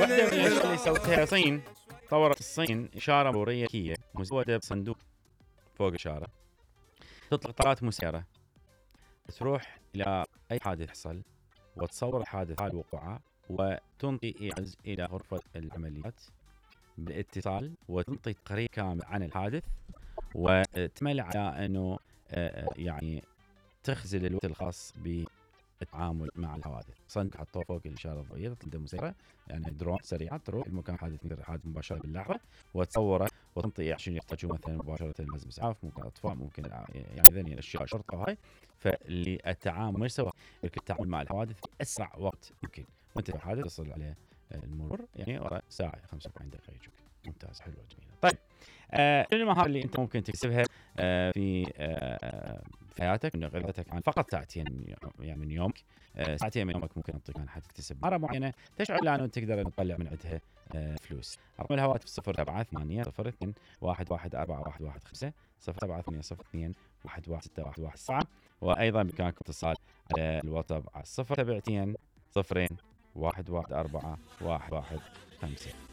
واحدة من الأشياء اللي سوتها الصين، طورت الصين إشارة مرورية ذكية مزودة بصندوق فوق الإشارة، تطلق طارات مسيرة تروح إلى أي حادث يحصل وتصور الحادث حال وقوعه، وتنطي إيعاز إلى غرفة العمليات بالاتصال، وتنطي تقرير كامل عن الحادث، وتمل على أنه يعني تخزل الوقت الخاص بالتعامل مع الحوادث. صندوق حطوه فوق الإشارة الضوئية، تطلق مسيرة يعني درون سريعة تروح المكان حادث مباشرة باللحظة وتصوره وتنطي عشان يحتاجوا مثلا مباشرة لازم إسعاف، ممكن أطفاء، ممكن يعني ذني الأشياء شرطة وهاي. فالتعامل مش سواء التعامل مع الحوادث في أسرع وقت ممكن، وأنت في حادث تصل عليه المرور يعني ورا ساعة 45 دقيقة يجوك. ممتاز، حلوة جميلة. طيب شنو المهارة اللي أنت ممكن تكسبها في حياتك من غيرتك عن فقط ساعتين يعني من يومك؟ ساعتين من يومك ممكن تنطيك عن حتكتسب مهارة معينة تشعر لأنه تقدر تطلع من عندها فلوس. رقم الهواتف 078802114115 078802116117. وأيضا بإمكانكم اتصال على الواتساب على 072 0114 115.